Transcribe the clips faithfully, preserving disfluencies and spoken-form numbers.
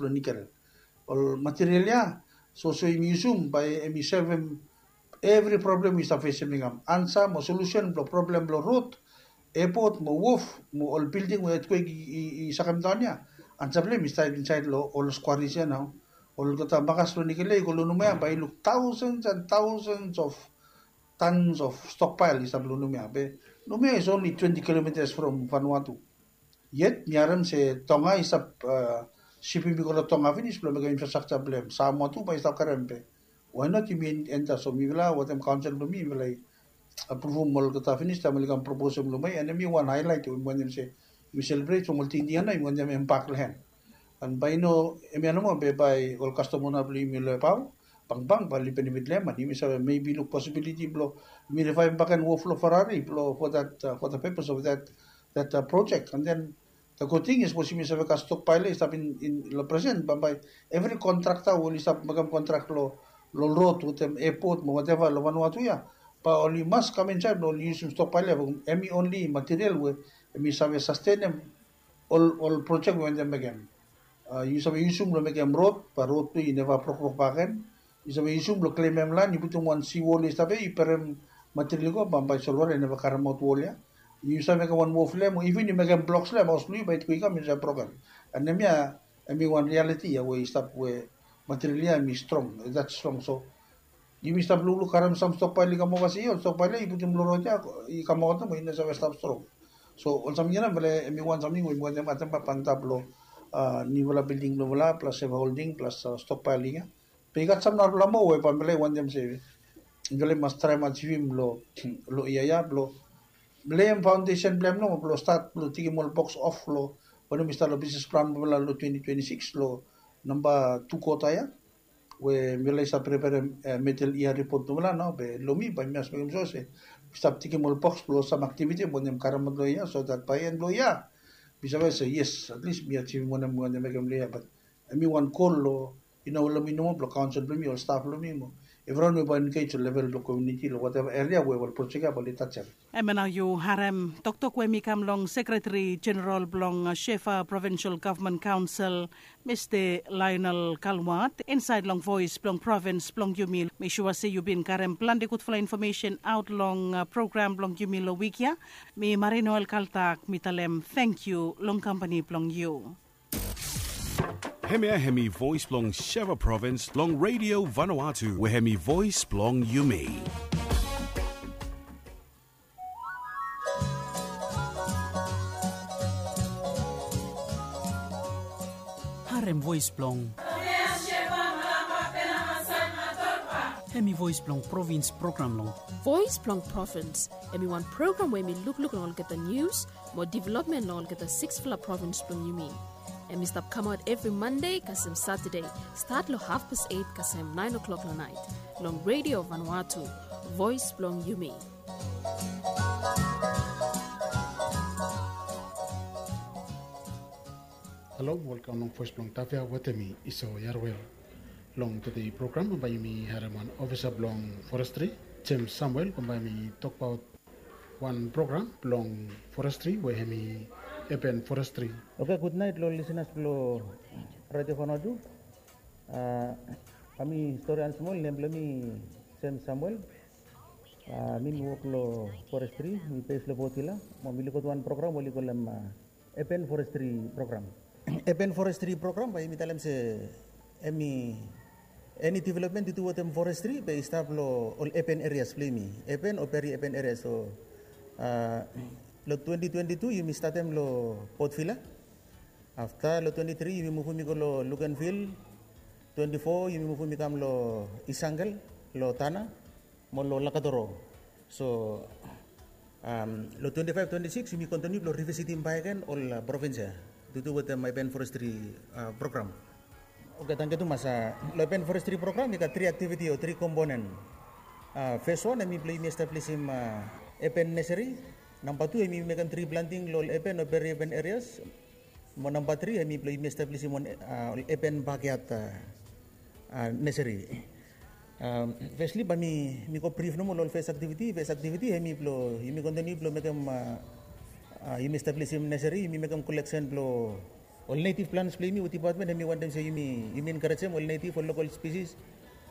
blong nikel. Ol material ya, so so yumi yusum bae hemi solvem evri problem we i stap fesem i kam. Ansa mo solusen blong problem blong rod, epot mo wof mo ol bilding we etkwek i, i, i sakem daon ya. Ansa blong hem i stap insaed long ol skwaris ya nao. Olgeta makas blong nikel ya i go long nomo ya bae i luk taosens and taosens of tons of stokpael i stap long nomo ya. Be nomo ya is only twenty kilometres from Vanuatu. Yet mi harem se Tonga i stap sipim i go long Tonga finis blong mekem infrastruktur blong hem. Samoa tu bae i stap karem be. Why not yumi enta? So mifala wetem kaonsel blong mi mifala i apruvum olgeta finis taem oli kam proposem long mi, and hemi wan haelaet we mi wantem se yumi selebret from ol tingting ya nao yumi wantem hem bak long hem. And bae i no hemia nomo be bae ol kastom ona blong yumi long Ebao, bangbang bae oli benefit long hem, and yumi save maybe luk posibiliti blong yumi rivaevem bakegen wof long Ferrari blong for that, uh, for the purpose of that, that, uh, project. And then the good thing is sapos yumi save gat stokpael ya i stap in, in long presen, bambae evri kontrakta we oli stap mekem kontrak long, long rod wetem epot mo whatever long Vanuatu ya, bae oli mas kam insaed blong oli yusum stokpael ya. Hemi only material we hemi save sastenem ol, ol projek we wantem mekem. Uh, yu save yusum blong mekem rod, bae rod tu i neva brokrok bakegen. Yu save yusum blong klemem lan, yu putum wan siwol i stap ya, yu berem material i go, bambae solwota i neva karemaot wol ya. Yu save mekem wan wof long hem, o iven yu mekem bloks long hem, haos blong yu bae i go i kam i save broken. And hemia hemi wan rialiti ya we i stap we material ya hemi strong, that strong. So yumi stap lukluk karem sam stokpael i kam ova se, ol stokpael ya i putum long rod ya i kamaot nomo, i no save stap strong. So ol samting ya nao mifala hemi wan samting we yumi wantem atem antap long, uh, niufala bilding blong mifala plus seva holding plus, uh, stokpaeling ya. Be i gat sam narafala moa we bambae mifala i wantem se mifala i mas traem ajivim long, long yia ya blong mifala hem faondesen blong hem nomo blong stat blong tekem ol boks of long wanem i stap long bisnes plan blong mifala long twenty twenty-six long namba tu kota ya. We mifala i stap preperem, eh, midel yia ripot blong mifala nao, be long mi bae mi mas mekem sua se mi stap tekem ol boks blong sam aktiviti we wantem karemaot long yia, so that bae en blong yia mi save se yes, at least mi ajivim wanem mi wantem mekem long yia. But hemi wan gol long, yu no, long mi nomo, blong kaonsel blong mi, ol staf blong mi mo evriwan we bae engej long level blong komuniti long whatever eria we ol projek ya bae oli tajem. Hemia nao yu harem toktok we hemi kam long Sekreteri Jeneral blong, uh, Shefa Provincial Government Council, Mista Lionel Kalwat, insaed long Voes blong Provins blong yumi. Mi sua se yu bin karem plante gudfala infomesen aot long, uh, program blong yumi long wik ya. Mi Marinoel Kaltak, mi talem tangkiu long kampani blong yu. Hemia hemi Voes blong Shefa Provins long Radio Vanuatu, we hemi voes blong yumi. Harem voes blong, hemi voes blong provins program long Voes blong Provins. Hemi wan program we hemi lukluk long olgeta nius mo developmen long olgeta siksfala provins blong yumi. Hemi stap kamaot evri Mande kasem Satade, stat long hafpas eit kasem naen oklok long naet, long Radio Vanuatu, voes blong yumi. Halo, welkam long Voes blong Tafea, wetem mi Iso Yarwel. Long tede program bambae yumi harem wan ofisa blong forestri, James Samuel, bambae hemi tokbaot wan program blong forestri we hemi urban forestri. Oke, gudnaet long ol lisenas blong Radio Vanuatu. Ah, bae mi stori wan smol. Nem blong mi James Samuel. Ah, mi mi wok long forestri, mi base long Port Vila. Mo mi lukot wan program we oli kolem, ah, urban forestry program. Urban forestry program bae yumi talem se hemi eni developmen tu tu wetem forestri bae i stap long ol urban areas blong yumi, urban o peri-urban areas. So, ah, long twenty twenty-two yumi statem long Port Vila. Afta long twenty-three yumi muvum i go long Luganville. Twenty-four yumi muvum i kam long Isangel, long Tanna mo long Lakatoro. So, am, long twenty-five twenty-six yumi kontiniu blong rivisitim bakegen ol, ah, provins ya tu tu wetem urban forestry, ah, program. Oke, tangkiu tumas. Ah, long urban forestry program i gat tri aktiviti o tri komponen. Ah, fes wan hemi blong yumi establisim, ah, urban nursery. Namba tu hemi mekem tri planting long ol urban o peri-urban areas. Mo namba tri hemi blong yumi establisim wan, ah, urban backyard, ah, ah, nursery. Ah, fesli bae mi, mi go brif nomo long ol fes aktiviti. Fes aktiviti hemi blong yumi kontiniu blong mekem, ah, ah, yumi establisim nursery, yumi mekem koleksen blong Ol native plants blong yumi we department hemi wantem se yumi yumi encourage em ol native, ol local species,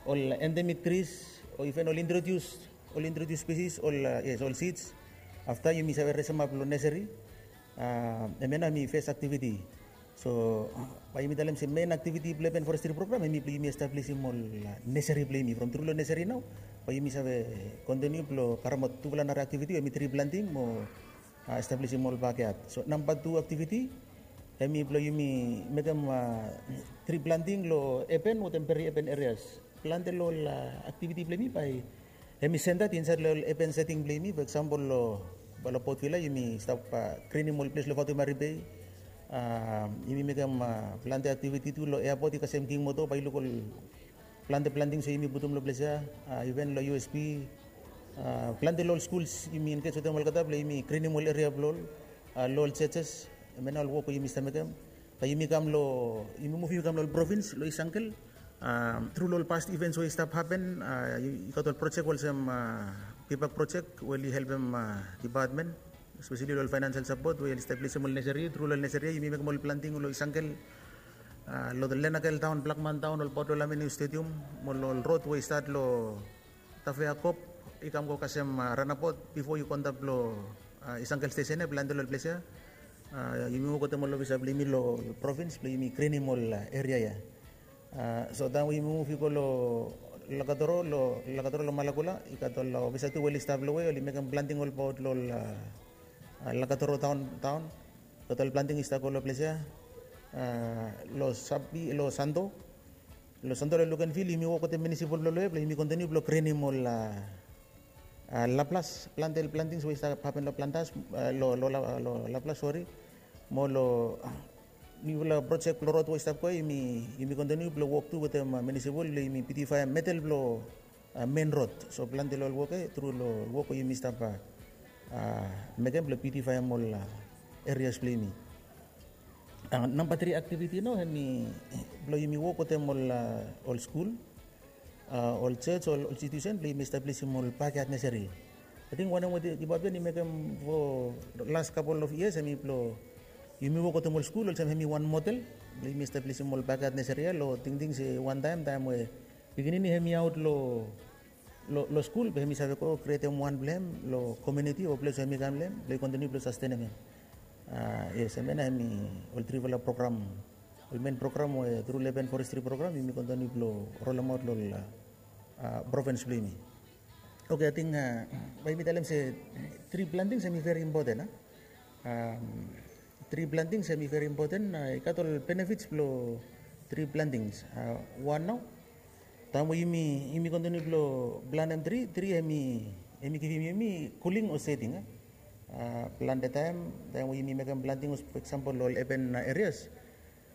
ol endemic trees, o even ol introduce ol introduce species, ol uh, yes, ol seeds. After yumi save resem ap long nursery. Uh, hemia nao hemi first activity. So bae yumi talem se main activity blong urban forestry program hemi blong yumi establishim ol uh, nursery blong yumi. From tru long nursery nao bae yumi save continue blong karemaot tufala nara activity, hemi tree planting mo uh, establishim ol backyard. So namba tu activity hemi blong yumi mekem uh, tree planting long urban wetem peri urban areas. Plante long ol uh, activity blong yumi bae hemi centered inside long ol urban setting blong yumi. For example long Port Vila yumi stap uh, greenim ol ples long Fatuimari Bay. Uh, yumi mekem uh, plante activity tu long airport i kasem King Motor, bae yu luk ol plante plantings we yumi putum long ples ya. Uh, even long U S P, uh, plante long ol schools yumi engage wetem olgeta blong yumi greenim ol area blong ol, uh, long ol churches. Hemia nao ol wok we yumi stap mekem. Bae yumi kam long, yumi muv yumi kam long ol province long East Uncle. Um, tru long ol past events we i stap happen, uh, i gat ol project olsem uh, Pibak project we oli helpem uh, department, especially long ol financial support we oli establishim ol nursery. Tru long ol nursery yumi mekem ol planting long East Uncle, uh, long Lenakel Town, Blackman Town, ol Port Lamini Stadium, mo long ol road we i start long Tafea Kop i kam go kasem uh, roundabout bifo yu go antap long uh, East Uncle station ya, plante long ol ples ya. Uh, yumi wok wetem ol ofisa blong yumi long province blong yumi greenim ol uh, area ya. Uh, so taem we yumi muv i go long Lakatoro, long Lakatoro long Malakula, i gat ol uh, ofisa tu we oli stap long we oli mekem planting olbaot long ol uh, uh, Lakatoro town, town. Gat ol planting i stap go long ples ya. Uh, long Sapi, long Santo, long Santo long Lukenville yumi wok wetem municipal blong long ya blong yumi continue blong greenim ol uh, uh, Laplas, plante ol plantings we i stap hapen long Plantas, uh, long long La- long Laplas, sorry. Mo long niufala project blong road we i stap go ya yumi yumi continue blong wok tu wetem uh, municipal blong yumi beautify middle blong uh, main road. So plante long ol wok ya, tru long ol wok we yumi stap uh, uh, mekem blong beautify ol uh, areas blong yumi. Uh, namba tri activity nao hemi blong yumi wok wetem ol uh, ol skul, uh, ol church, ol institution blong yumi establishim ol backyard nursery. Ating wanem we department i mekem for last couple of years hemi blong yumi wok wetem ol skul olsem hemi wan model blong yumi establishim ol backyard nursery ya. Long tingting se wantaem, taem we pikinini hemi aot long long skul be hemi save go krietem wan blong hem long community o ples we hemi kam long hem blong i continue blong sustenem hem. Uh, yes, hemia nao hemi ol trifala program, ol main program we tru long urban forestry program yumi continue blong rolemaot long ol uh, province blong yumi. Okay, ating uh, bae yumi talem se tree plantings hemi very important. Uh? Um, tree plantings hemi very important. Uh, i gat ol benefits blong tree plantings. Uh, wan nao, taem we yumi yumi continue blong plantem tree, tree hemi hemi givim yumi cooling o shading. Uh, plante taem, taem we yumi mekem planting, for example long ol urban uh, areas,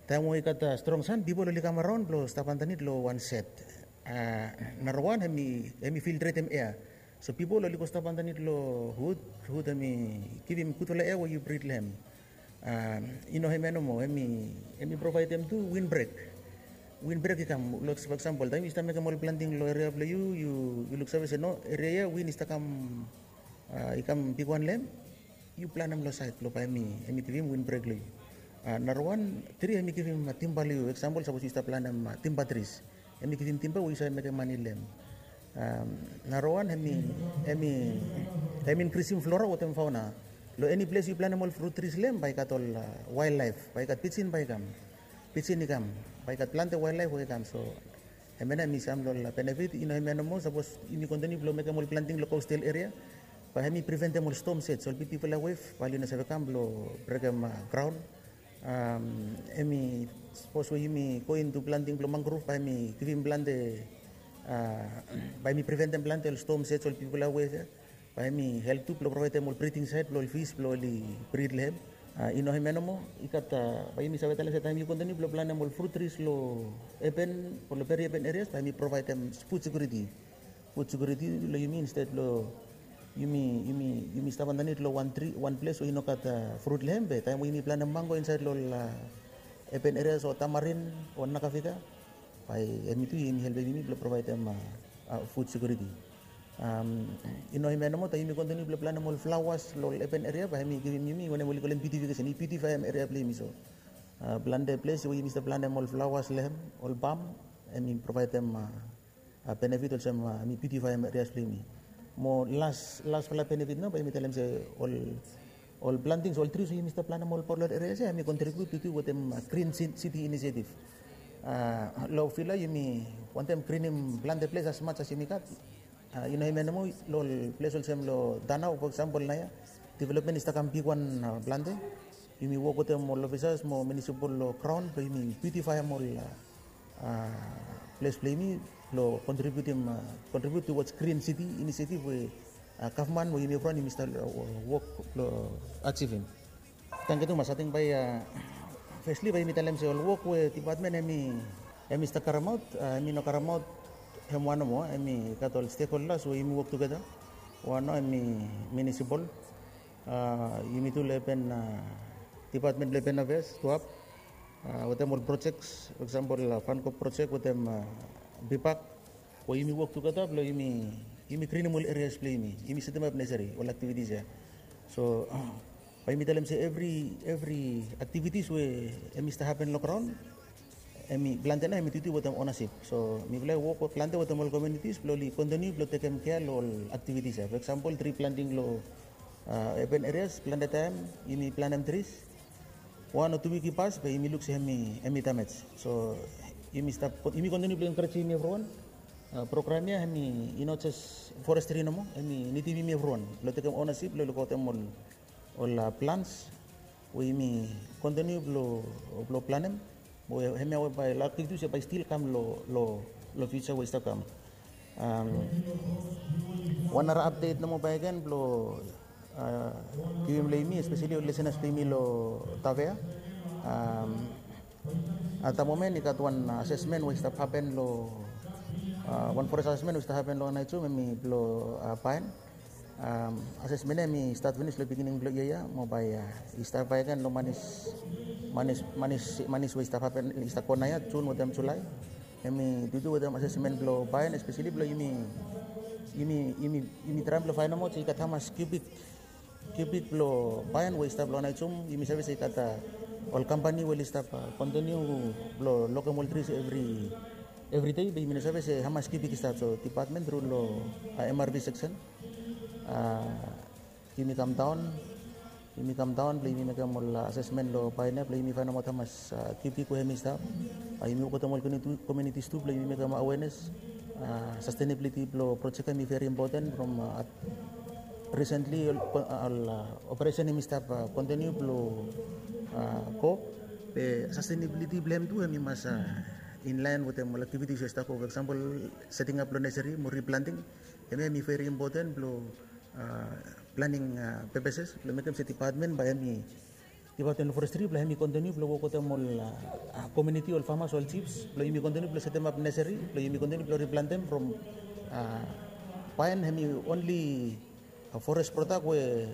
taem we i gat uh, strong sun, pipol oli kam araon blong stap andanit long wan shed. Uh, narawan hemi hemi filtretem air. So pipol oli go stap andanit long hud, hud hemi givim gudfala air we yu brit long hem. Um, i no hemia nomo, hemi hemi provaedem tu windbreak. Windbreak i kam, like for example taem yu stap mekem ol planting long area blong yu, yu yu luksave se no, area ya win i stap kam uh, i kam bigwan long hem. Yu planem long saed blong bae hemi hemi givim windbreak long yu. Uh, narawan, tri hemi givim uh, timba long yu. Example sapos yu stap planem uh, timba tris, hemi givim timba we yu save mekem mane long hem. Um, narawan hemi hemi hemi inkrisim flora wetem fauna. Long eni ples yu planem ol frut tris long hem bae i gat ol uh, wildlife, bae i gat pijin bae i kam. Pijin i kam, bae i gat plante wildlife we i kam. So hemia nao hemi sam long ol benefit. I no hemia nomo, sapos yumi continue blong mekem ol planting long coastal area, bae hemi preventem ol storm surge, ol bigfala wave bae oli no save kam blong brekem uh, graon. Um, hemi sapos we yumi go into planting blong mangrove bae hemi givim plante uh, bae hemi preventem plante ol storm surge, ol bigfala wave ya. Bae hemi help tu blong provaedem ol breeding site blong ol fish blong oli breed long hem. Uh, i no hemia nomo, i gat uh, bae yumi save talem se taem yu continue blong planem ol frut tris long urban o long peri urban areas bae hemi provaedem food security. Food security long yumi instead long yumi yumi yumi stap andanit long wan tri, wan ples we i no gat uh, frut long hem, be taem we yumi planem mango insaed long ol uh, urban areas o tamarin o nakafika, bae hemi tu hemi helpem yumi blong provaedem uh, uh, food security. Um, i no hemia nomo, taem yumi continue blong planem ol flaoas long ol urban area bae hemi givim yumi wanem oli kolem beautification, i beautifyem area blong yumi. So Plante ples we yumi stap plantem ol flaoas long hem, ol pam, em i provaedem benefit olsem em i biutifaem erias blong yumi. Mo las laspela benefit nao bae yumi talem se ol plantings, ol tris we yumi stap plantem ol polot erias ya em i kontribiut tutu wetem grin siti inisietif. Long fila yumi wantem grinim plante ples as mats as yumi gat. I no hem ya nomo, long ol ples olsem long danau, fo eksampol naoia developmen i stap kam bigwan plante. Yumi wok wetem ol ofisas mo munisipal long graon blong yumi biutifaem ol ples blong yumi long kontribiutim, kontribiut tuwats grin siti inisietif we gavman we yumi evriwan yumi stap wok blong ajivim. Tangkiu tumas. Ating bae fesli bae yumi talem se ol wok we dipatmen em i stap karemaot, em i no karemaot hem wan nomo, em i gat ol stekholdas we yumi wok tugeta. Wan nao em i munisipal, yumi tu long epen, dipatmen blong epen afeas tuap, wetem ol projek, fo eksampol fankop projek wetem bipak, we yumi wok tugeta blong yumi grinim ol erias blong yumi, yumi setemap nesesari ol aktivitis ya. So bae yumi talem se evri, evri aktivitis we em i stap hapen long graon, em i plante nao em i tutu wetem onasip. So mifala i wok plante wetem ol komunitis blong oli kontiniu blong tekem kea long ol aktivitis ya. Fo eksampol tri planting long epen erias, plante taem yumi plantem tris, wan o tu wik i pas bae yumi luk se em i damej. So yumi stap, yumi kontiniu blong enkarejim yumi evriwan. Program ya em i no jes forestri nomo, em i nidim yumi evriwan blong tekem onasip blong lukaotem ol plans we yumi kontiniu blong planem. Mo hemia we bae laki tu se bae stil kam long fiuja we i stap kam. Wan nara apdet nomo bakegen blong givim long yumi, espeseli ol lisenas blong yumi long Tavea. At da momen i gat wan asesmen we i stap hapen long, wan forest asesmen we i stap hapen long Anaijum, em i blong Paen. Asesmen ya em i stat finis long pikinini blong yia ya mo bae i stap bakegen long manis, manis, manis we i stap hapen, i stap go naoia, Jun wetem Julai. Em i dudu wetem asesmen blong Paen, espeseli blong yumi, yumi, yumi traem blong faenemaot se i gat hamas kiubik, kiubik blong Paen we i stap long Anaijum. Yumi save se i gat ol kampani we oli stap kontiniu blong lokem ol tris evri, evri dei, be yumi no save se hamas kiubik i stap. So dipatmen tru long MRV seksen, yumi kamdaon, yumi kamdaon blong yumi mekem ol asesmen long Paen ya blong yumi faenemaot hamas kiubik we hem i stap. Yumi wok wetem ol komunitis tu blong yumi mekem awenes. Sastenabiliti blong projek ya em i veri impoten from risentli ol operesen hem i stap kontiniu blong go. Be sastenabiliti blong hem tu hem i mas inlaen wetem ol aktivitis we i stap go, fo eksampol setingap blong nesari mo riplanting. Hemia hem i veri impoten blong planing pepeses blong mekem se dipatmen bae hem i, dipatmen blong forestri bae hem i kontiniu blong wok wetem ol komuniti, ol famas, ol jifs blong yumi kontiniu blong setemap nesari blong yumi kontiniu blong riplantem from Paen. Hem i onli forest prodak we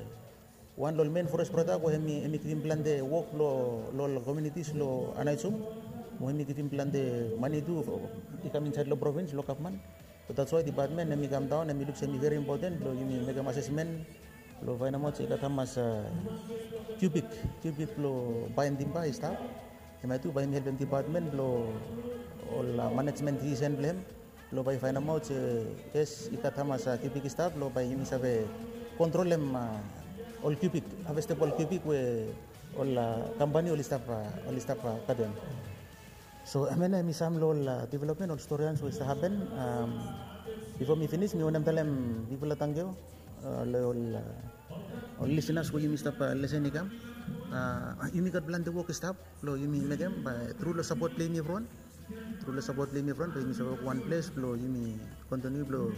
wan long ol men forest prodak we hem i givim plante wok long ol komunitis long Anaijum. Mo hem i givim plante mane tu i kam insaed long provins long gavman. So that's why dipatmen hem i kamdaon, hem i luk se hem i veri impoten blong yumi mekem asesmen blong faenemaot se i gat hamas kiubik, kiubik blong Paen timba i stap. Hemia tu bae hem i helpem dipatmen blong ol manejmen disisen blong hem blong bae i faenemaot se yes, i gat hamas kiubik i stap blong bae yumi save kontrolem ol kiubik, havestebol kiubik we ol kampani oli stap, oli stap katem. So hemia nao hem i sam long ol developmen, ol storians we i stap hapen. Bifo mi finis mi wantem talem bigfala tangkiu long ol lisenas we yumi stap lesen i kam. Yumi gat plante wok i stap blong yumi mekem, bae tru long sapot blong yumi evriwan, tru long sapot blong yumi evriwan bae yumi save wok wan ples blong yumi kontiniu blong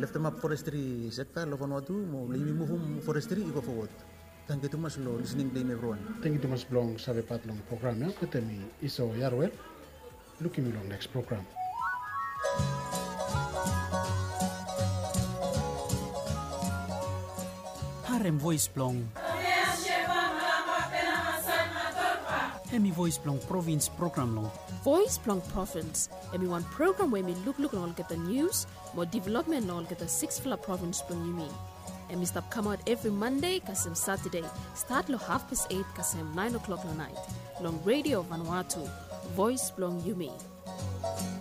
leftemap forestri sekta long Vanuatu mo blong yumi muvum forestri i go fowod. Tangkiu tumas long lisening blong yumi evriwan. Tangkiu tumas blong savepat long program ya. Wetem mi Iso Yaruel. Lukim yu long neks program. Harem voes blong, hem i voes blong provins program long. Voes blong Provins hem i wan program we hem i lukluk long olgeta nius mo developmen long olgeta siksfala provins blong yumi. Em i stap kamaot evri Mande kasem Satade, stat long hafpes eit kasem naen o'klok long naet, long Redio Vanuatu, voes blong yumi.